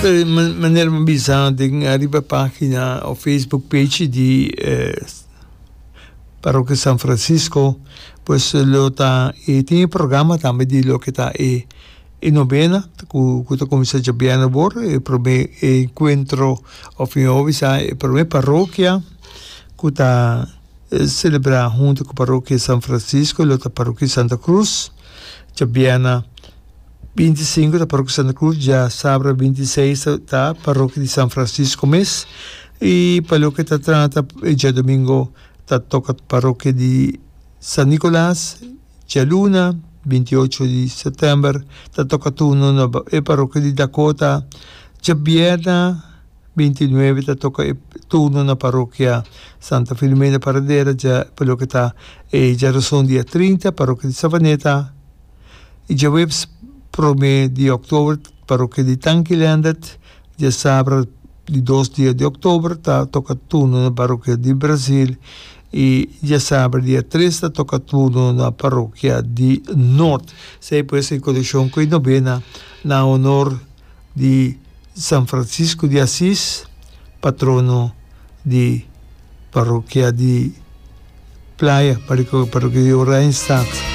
Manera mi a bisa den ariba pagina of Facebook page di Parokia San Francisco pues lo ta e tin e programa tambe di loke ta e e novena ku ku ta kuminsá djabièrnè awor e promé enkuentro òf mihó bisa e promé parokia ku ta selebrá huntu ku Parokia San Francisco lo ta Parokia Santa Cruz djabièrnè. 25 ta Parokia Santa Cruz, djasabra 26 ta Parokia di San Francisco mes y pa loke ta trata e djadomingo ta toca Parokia di San Nicolas, djaluna 28 di september ta toca turno na e Parokia di Dakota, djabierna 29 ta toca e turno na Parokia Santa Filomena Paradera, dja pa loke ta e djarason dia 30 Parokia di Savaneta. I djaweps promé di òktober parokia di Tanki Leendert, djasabra di dos dia di òktober ta toka turno na parokia di Brazil i djasabra dia tres ta toka turno na parokia di Noord. Esei pues en konekshon ku e nobena na honor di San Francisco di Asis, patrono di parokia di Playa, parokia di Oranjestad.